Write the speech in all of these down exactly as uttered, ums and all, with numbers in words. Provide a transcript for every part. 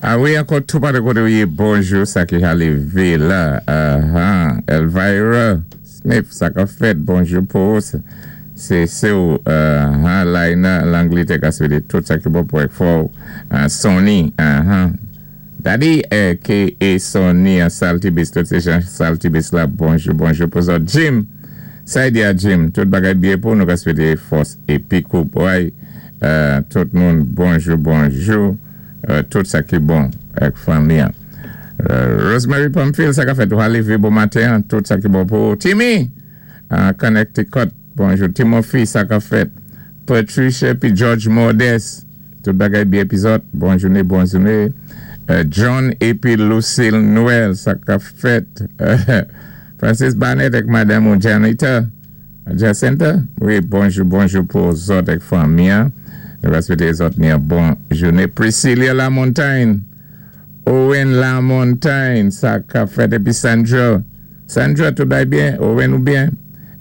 A wi, ankò tou pa de koté wi, bonjou, sa ki arivé la. Uh-huh. Elvira Smith, sa ka fèt, bonjou pou sé sé ou, uh-huh, Laina, Langletè, ka swété tout sa ki bon pou ek fò, uh, Sonny, uh-huh. Daddy, eh, K A. Sonny, an Saltibus, tout sé jan Saltibus la, bonjou, bonjou pou zòt. Jim, sa y di a Jim, tout bagay byen pou nou ka swété fòs épi kouray, uh, tout moun, bonjou, bonjou, uh, tout sa ki bon ak fanmi. Uh, Rosemary Pamphile, sa ka fèt, ou arivé bon maten, tout sa ki bon pou Timmy, uh, Connecticut, bonjou. Timothy, sa ka fèt. Patricia, pi George Modeste, tout bagay byen pi zòt, bon jouné, bon jouné. Uh, John épi Lucille Noël, sa ka fèt. Uh, Francis Barnett ak Madame ou Janita, Jacinta, wi, bonjou, bonjou pou zòt ak fanmi. Nou va swété zòt ni yon bon jouné. Priscilla Lamontagne, Owen Lamontagne, sa ka fèt, épi Sandra. Sandra, tout bagay byen? Owen ou byen?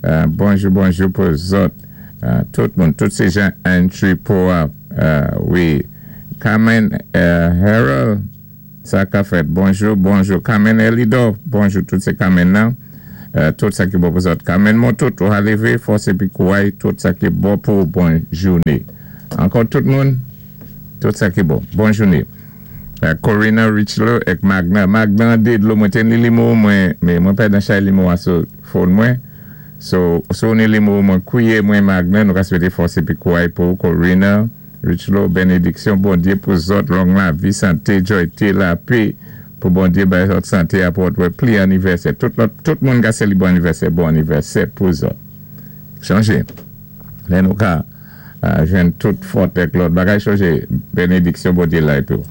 Uh, bonjou, bonjou pou zòt. Uh, tout moun, tout sé jan entry pou, uh, wi. Carmen uh, Harold, sa ka fèt. Bonjou, bonjou. Carmen Elido, bonjou, tout sé Carmen nan. Uh, tout sa ki bon pou zòt. Carmen Motout, ou arivé, fòs épi kouray, tout sa ki bon pou bon jouné. Ankò tout moun, tout sa ki bon. Bon jouné. Uh, Corina Richlo ek Magna. Magna Dedlo, mwen ten li limo, mwen, mwen pè dan chay limo a sou phone mwen. So, sou ni limo mwen kouye mwen Magna, nou ka swété fòs épi kouray pou Corina Richlo, bénédiksyon Bondyé pou zòt, long lavi, santé, joyté, lapè, pou Bondyé bay zòt santé apòt wè pli anivèsè. Tout, lot, tout moun ka seli bon anivèsè, bon anivèsè pou zòt. Chanje. Lè nou ka uh, jwenn tout fòt ek lòt bagay chanje, bénédiksyon Bondyé la pou.